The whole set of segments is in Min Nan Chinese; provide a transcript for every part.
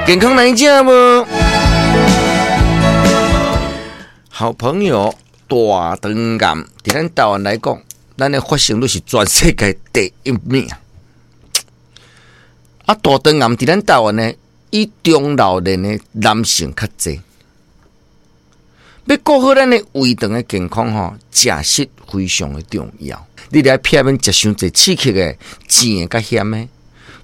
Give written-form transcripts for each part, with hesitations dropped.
健康來食無？好朋友大腸癌，佇咱台灣來講，咱的發生率是全世界第一名。啊，大腸癌佇咱台灣呢，以中老年的男性較濟。欲顧好咱的胃腸的健康吼，食食非常的重要。你著愛避免食傷濟刺激的、甜的佮鹹的。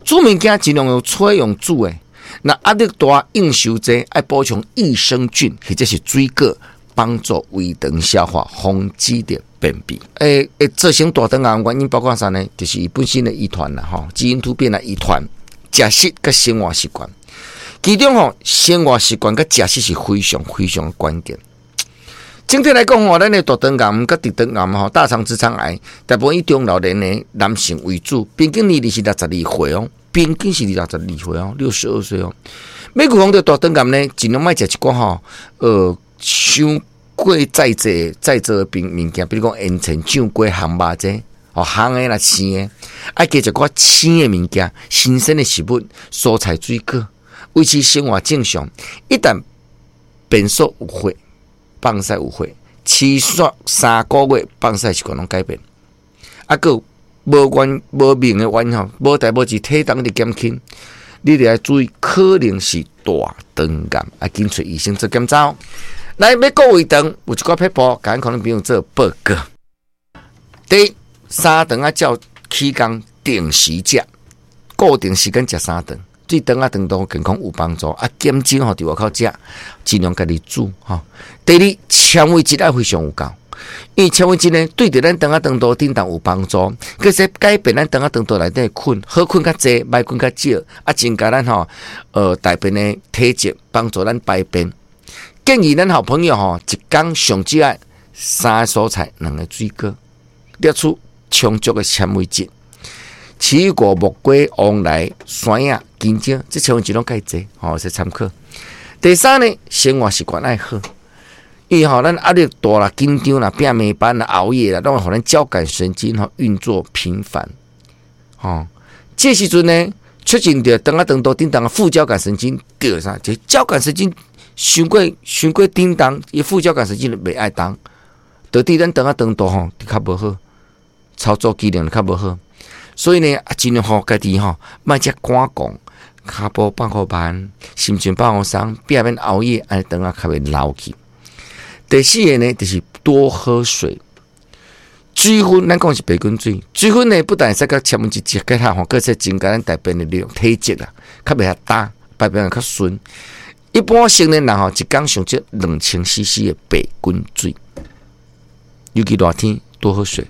煮物件盡量用炊用煮的。若壓力大、應酬濟，愛補充益生菌或者是水果，幫助胃腸消化，防止著便秘。會造成大腸癌原因包括啥呢？就是伊本身的遺傳啦，吼，基因突變的遺傳、食食佮生活習慣。其中吼，生活習慣佮食食是非常非常關鍵。整體來講吼，咱的大腸癌佮直腸癌吼，大腸直腸癌，大部分以中老年的男性為主，平均年齡是六十二歲哦，平均是六十二歲哦，62歲哦。欲預防著大腸癌呢，盡量莫食一寡吼，傷過再製再做的物件，比如講煙腸、醬粿、烘肉這，哦，烘的啦、生的，愛加食寡生的物件、新鮮的食物、蔬菜水果，維持生活正常。一旦便所有血，放屎有血，持續3個月放屎習慣攏改變，啊，閣有無原無明的原因吼，無代無誌體重佇減輕，你著愛注意，可能是大腸癌，愛緊揣醫生做檢查哦。來，欲顧胃腸，有一寡撇步，共可能朋友做報告。第一，三頓愛照起工定時食，固定時間食三頓。對腸仔腸道健康有幫助。啊，減少吼佇外口食，盡量家己煮吼。第二，纖維質愛非常有夠，因為纖維質呢，對著咱腸仔腸道振動有幫助，閣使改變咱腸仔腸道內底的菌，好菌較濟，壞菌較少，啊，增加咱吼大便的體積，幫助咱排便。建議咱好朋友吼，一工上少愛三個蔬菜，兩個水果，攝取充足的纖維質。奇異果、木瓜、黃梨、山藥、香蕉，這纖維質攏較濟，吼，會使參考。第三呢，生活習慣愛好，因為吼，咱壓力大啦、緊張啦、拼加班啦、熬夜啦，攏會予咱交感神經吼運作頻繁，吼，這時陣呢，促進著腸仔腸道振動的副交感神經著啥？就交感神經傷過傷過振動，伊副交感神經就袂愛動，導致咱腸仔腸道吼就較無好，操作機能較無好。所以呢，啊，盡量予家己吼，莫遮趕狂，跤步放予慢，心情放予鬆，避免熬夜，按呢腸仔較袂老去。第四个呢，就是多喝水。水分，咱講是白滾水。水分呢，不但會使佮纖維質結合吼，閣會增加咱大便的量、體積啦，較袂遐焦，排便會較順。一般成年人吼，一工上少2000 cc 的白滾水。尤其熱天，多喝水。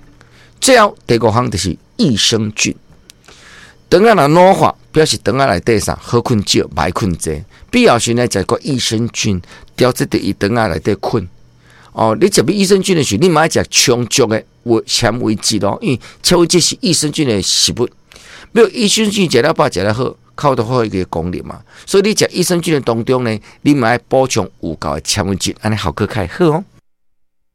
最後第五項就是益生菌。腸仔若老化，表示腸仔內底啥好菌少，歹菌濟。必要時呢，食個益生菌，調節著伊腸仔內底菌。哦，你食益生菌的時候，你嘛愛食充足的纖維質哦，因為纖維質是益生菌的食物。欲益生菌食了飽，食了好，較有好一個功能嘛。所以你食益生菌的當中呢，你嘛愛補充有夠的纖維質，按呢效果較會好哦。